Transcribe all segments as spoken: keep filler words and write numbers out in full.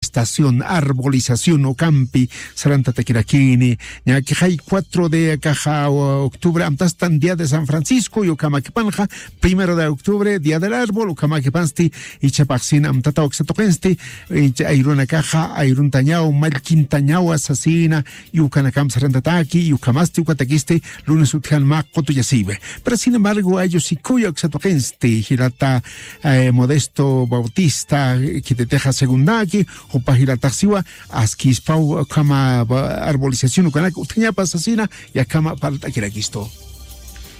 estación arbolización ukampi sarantatakirakini. Ñakixay cuatro de akaxa octubre amtastan día de san francisco y ukamakipanxa primero de octubre día del árbol ukamakipansti. Ichapaxsin amtata uksatuqinsti. Icha ayrunakaxa ayruntañaw mallkintañawa sasina. Y ukanakam sarantataki y ukamasti ukatakisti lunes utjan mä qutuyasiwi. Pero sin embargo ayllu sikuya uksatuqinsti jilata modesto bautista kititixa segundaki. Jupa jilataxsiwa askispaw ukhama arbolización ukanak utjañapa sasina. Yakhama parlt'akirakistu.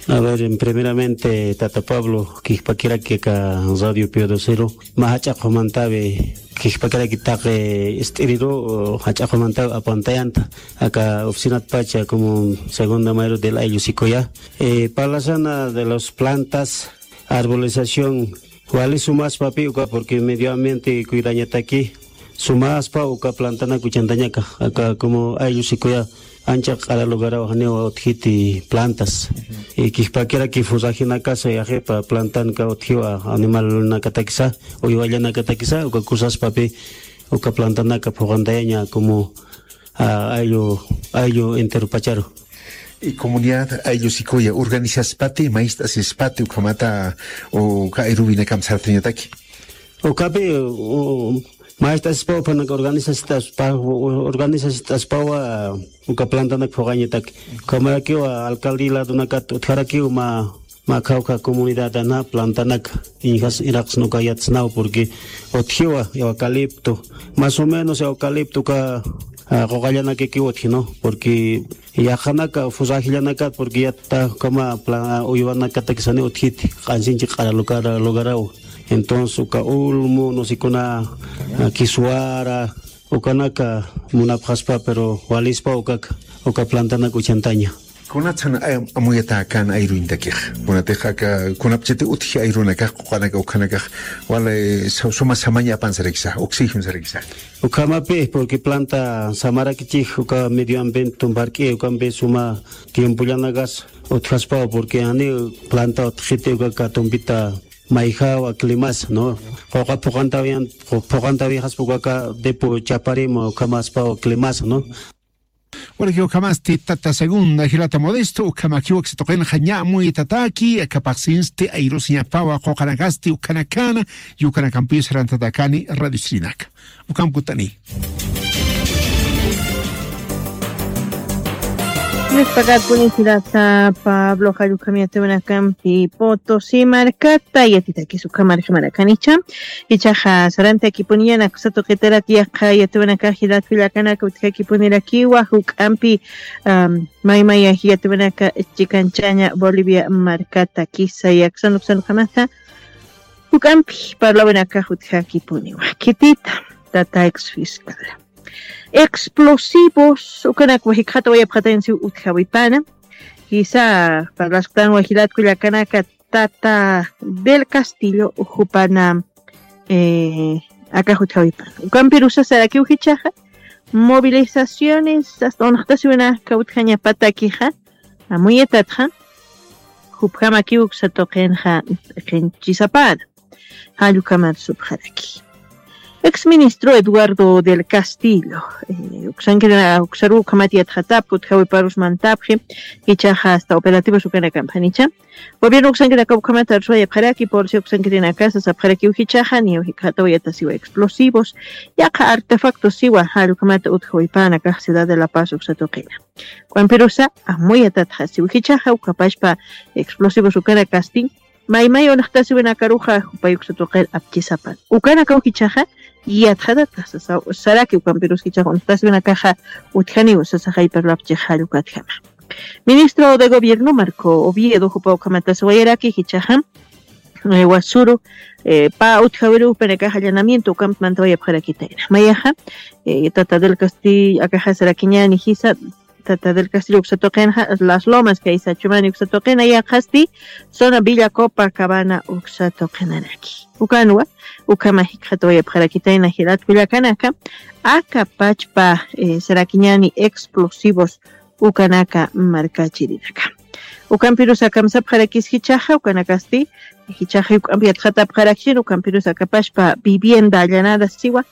A ver, primeramente tata Pablo, kijpakiraki aka radio piodocero mä jach'a qhumantawi kijpakiraki taqi ist'iriru jach'a qhumantawi apantayanta aka oficinatpacha como segunda mayor del ayllu sikuya. Parlasana de las plantas, arbolización wali sumaspapi uka porque medio ambiente cuidañataki sumaspa uka plantanak uchantañaka aka como ayllu sikuya ancha q'ara lugaraw janiw utjiti plantas. Kijpakiraki furrajinakasa yaqipa plantanka utjiwa animalnakatakisa uywallanakatakisa uka kusaspapi uka plantanaka phuqantayaña como ayllu ayllu enteropacharu. Y comunidad ayllu sikuya organizaspati mayst'asispati ukhamata uka ayruwinakam sartañataki. Ukapi mayst'asispaw phanaka organizasit'aspa organizasit'aspawa uka plantanak phuqañataki. Ukhamarakiwa alcalde ladonakat utjarakiw ma ma khawkha comunidadana plantanaka iñjas iraqsna uka yatsnaw porque utjiwa eucalipto más o menos eucalipto uka quqallanakakiw utjino porque yaqhanaka furrajillanakat porque yatta ukhama uywanakatakisani utjiti q'ansinchi q'ara lugaraw. Entonces uka ulmu no sé kuna kiswara ukanaka munapxaspa pero walispa ukaka uka plantanaka uchantaña. Kunatsan amuyata kan ayruñtakix kunatix aka kunapchati utji ayrunakax quqanaka ukhanakax wala suma samaña apan sarakisa oxígeno sarakisa. Ukhamapi porque planta samarakichix uka medio ambiente tumpark'i ukampi suma tiempollanakas utjaspaw porque ani planta utjiti ukaka tumpita mayjawa climas no quqa phuqantawiyan phuqantawixaspa ukaka depo chaparima ukhamaspaw climas no. Uraki ukhamasti tata segunda jilata modesto ukhamakiw aksatuqinxa ña amuytataki akapaxsinsti ayrusiñapawa quqanakasti ukhanakana y ukanakampiw sarantatakani radio chirinaka. Ukham kutani. Nispakat puni jilata pablo jallukhamiyatiwanakampi potosi markata yatitakis ukhamarjamarakanicha. Ichaxa sarantakipuniñana kusatuqitarat yaqha yatiwanakax jilatkullakanaka utjakipunirakiwa juk'ampi maymaya jiyatiwanaka chikanchaña bolivia markata kisa yaksan uksanukhamata juk'ampi parlawinakax utjakipuniwa. Khitita tata ex fiscal explosivos ukanakwa jikxatawayapxatañsiw utjawipana. Jisa parlasktanwa jilatkullakanaka tata del castillo jupana akax utjawipana ukampirusa sarakiw jichaxa movilizaciones asta unxtasiwinaka utjañapatakixa amuyatatxa jupjamakiw uksatuqinxa qhinchisapana. Jallukhamat supxaraki ex ministro eduardo del castillo uksankir uksaruw ukhamat yatxatapki utjawiparus mantapxi jichaxa asta operativos ukanakamp janicha gobierno uksankirakaw ukhamat arsuwayapxaraki policía uksankirinakasa sapxarakiw jichaxa niyaw jikxataw yatasiwa explosivos yaqha artefactos siwa jallukhamata utjawipana kax ciudad de la paz uksatuqina k'uampirusa amuyatatxa siw jichaxa ukhapachpa explosivos ukanakasti maymay unxtasiwinakaruxa jupay uksatuqir apchisapan ukanakaw jichaxa yatxatatxa sasaw saraki ukampirus jichaxa unxtasiwinakaxa utjaniw sasaxay parlapchix jallukatjama. Ministro de gobierno marco oviedo jupa ukhamatasiwayaraki jichaxa wasuru pa utjawiruw penakax allanamiento ukampi mantawayapxarakitayna mayaxa tata del castillo akaxa sarakiñani jisa tata del castillo uksatuqinxa las lomas kaysa chumani uksatuqina yaqhasti zona villa copa cabana uksatuqinaraki ukanwa ukhama jikxatawayapxarakitayna jilatkullakanaka aka pachpa sarakiñani explosivos ukanaka markachirinaka ukampirus akamsapxarakis jichaxa ukanakasti jichaxa juk'ampi yatxatapxarakchina ukampirus akapashpa vivienda allanada siwa